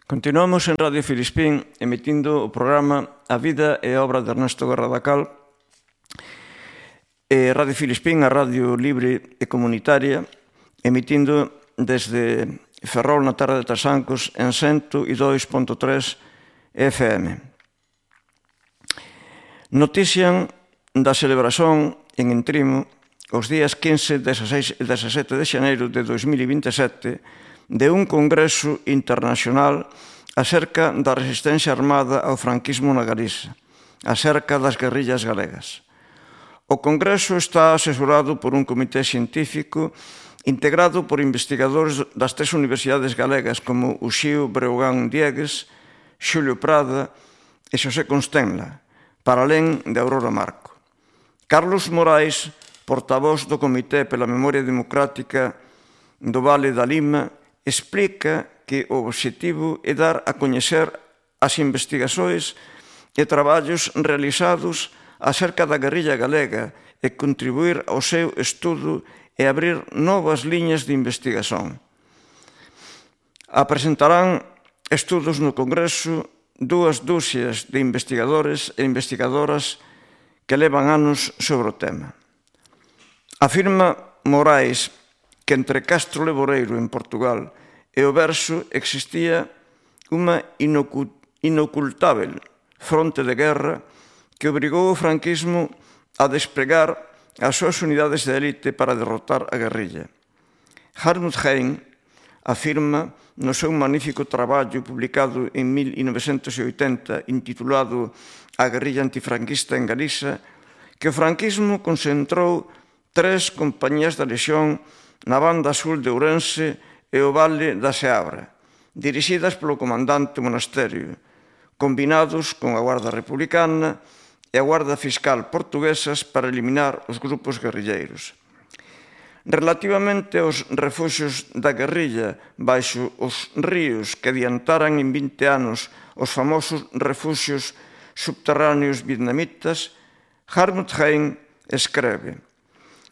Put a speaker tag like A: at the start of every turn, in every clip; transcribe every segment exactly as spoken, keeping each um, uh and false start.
A: Continuamos en Radio Filispín emitindo o programa A Vida e a Obra de Ernesto Guerra Dacal. E Radio Filispín, a radio libre e comunitaria, emitindo desde Ferrol na terra de Trasancos en ciento dos punto tres F M. Notician da celebración en Entrimo os días quince, dezasseis e dezasete de xaneiro de dois mil vinte e sete de un congreso internacional acerca da resistencia armada ao franquismo na Galiza, acerca das guerrillas galegas. O congreso está asesorado por un comité científico integrado por investigadores das tres universidades galegas como Uxío Breogán Diegues, Xulio Prada e Xosé Constenla, para alén de Aurora Marco. Carlos Morais, portavoz do Comité pela Memoria Democrática do Vale da Lima, explica que o obxectivo é dar a coñecer as investigações e traballos realizados acerca da guerrilla galega e contribuir ao seu estudo e abrir novas liñas de investigación. Apresentarán estudos no Congreso dúas dúcias de investigadores e investigadoras que levan anos sobre o tema. Afirma Morais que entre Castro Leboreiro, en Portugal, e o Verso existía unha inocultável fronte de guerra que obrigou o franquismo a despregar as súas unidades de élite para derrotar a guerrilla. Hartmut Hein afirma no seu magnífico traballo publicado en mil novecentos oitenta intitulado A guerrilla antifranquista en Galiza que o franquismo concentrou tres compañías da Lexión na banda sur de Ourense e o Vale da Seabra, dirixidas polo comandante Monasterio, combinados con a Guarda Republicana e a Guarda Fiscal portuguesas para eliminar os grupos guerrilleiros. Relativamente aos refuxios da guerrilla baixo os ríos que adiantaran en vinte anos os famosos refuxios subterráneos vietnamitas, Hartmut Hein escreve: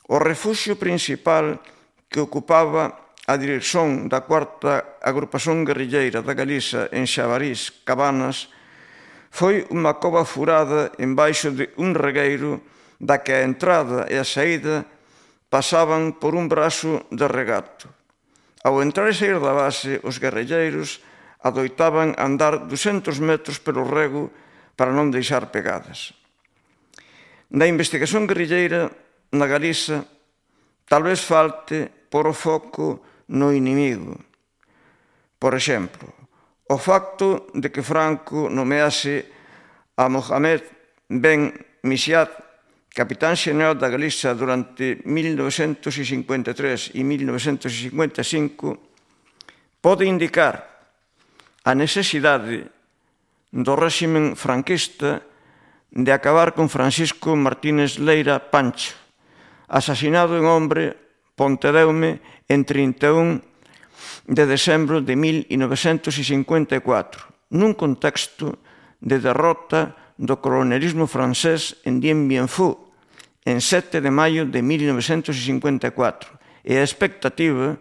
A: o refuxio principal que ocupaba a dirección da cuarta agrupación guerrilleira da Galiza en Xabarís, Cabanas, foi unha cova furada embaixo de un regueiro da que a entrada e a saída pasaban por un brazo de regato. Ao entrar e sair da base, os guerrilleiros adoitaban andar ducentos metros pelo rego para non deixar pegadas. Na investigación guerrilleira na Galiza, tal vez falte por o foco no inimigo. Por exemplo, o facto de que Franco nomease a Mohamed Ben Misiat capitán xeneral da Galiza durante mil novecentos cincuenta e tres e mil novecentos cincuenta e cinco pode indicar a necesidade do réximen franquista de acabar con Francisco Martínez Leira Pancho, asasinado en Hombre, Pontedeume, en trinta e un de decembro de mil novecentos cincuenta e catro, nun contexto de derrota do colonialismo francés en Dien Bien Phu, en sete de maio de mil novecentos cincuenta e catro, e a expectativa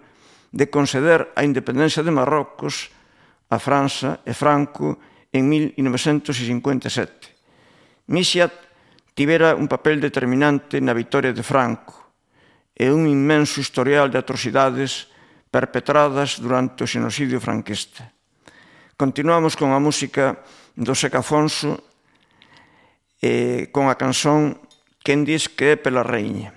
A: de conceder a independencia de Marrocos a França e Franco en mil novecentos cincuenta e sete. Misiat tivera un papel determinante na vitoria de Franco e un inmenso historial de atrocidades perpetradas durante o xenocidio franquista. Continuamos con a música do Seca Afonso e con a canción Quen dis que é pela Raíña.